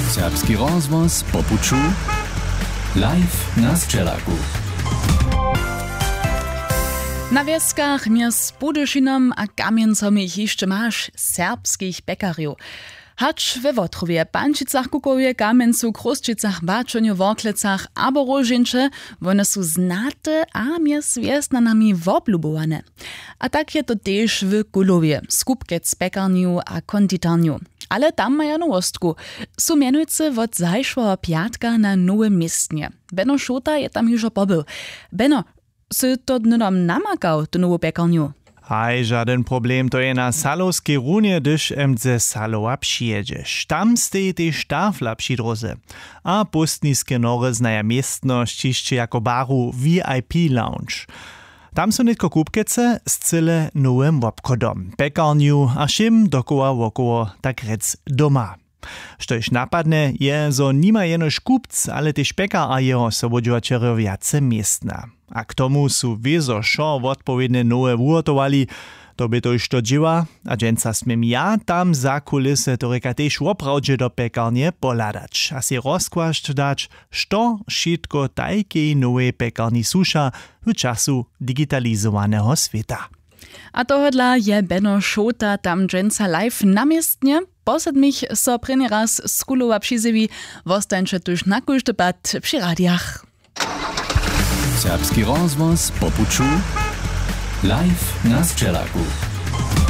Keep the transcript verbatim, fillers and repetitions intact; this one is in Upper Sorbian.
Serbski rozhłos po puću, live na sćelaku. Na wjeskach mjez Budyšinom a Kamjencom jich hišće maš, serbskich pjekarjow. Hač we Wotrowje, Pančicach, Kukowje, Kamjencu, Chrósćicach, Baćonju, Worklecach abo Róžeńće, wone su znate a mjez wjesnjanami woblubowane. A tak je to tež w Kulowje, Skupkec pjekarnju a konditarnju. Ale tam maja nowostku. Su mjenujcy wot zašłeho pjatka na nowym městnje. Beno Šota je tam hižo pobył. Beno, sy to hnydom namakał, tu nowu pjekarnju? Haj, žadyn problem, to je na Salowskej runje, hdyž mdze Salowa přijědźeš. Tam steji tež tafla při dróze. A póstniske nory znaja městnosć hišće jako baru V I P lounge. Tam su nětko kupkece z cyle nowym wobchodom, pjekarnju a wšěm dokoła wokoło, tak rjec doma. Štož napadnje, je, zo nima jenož kupc, ale tež pjekar a jeho sobudźěłaćerjo wjace městna. A k tomu su wězo wšo wotpowědnje nowe wuhotowali. To bě to hišće dźěła. A dźensa směm ja tam za kulisy, to rěka, tež woprawdźe do pjekarnje pohladać a sej rozkłasć dać, što wšitko tajkej nowej pjekarni słuša w času digitalizowaneho swěta. A tohodla je Beno Šota tam dźensa live na městnje. Po sedmich so prěni raz z Kulowa přizjewi. Wostańće tuž na kóždy pad při radijach. Serbski rozhłos po puću, live na sćelaku.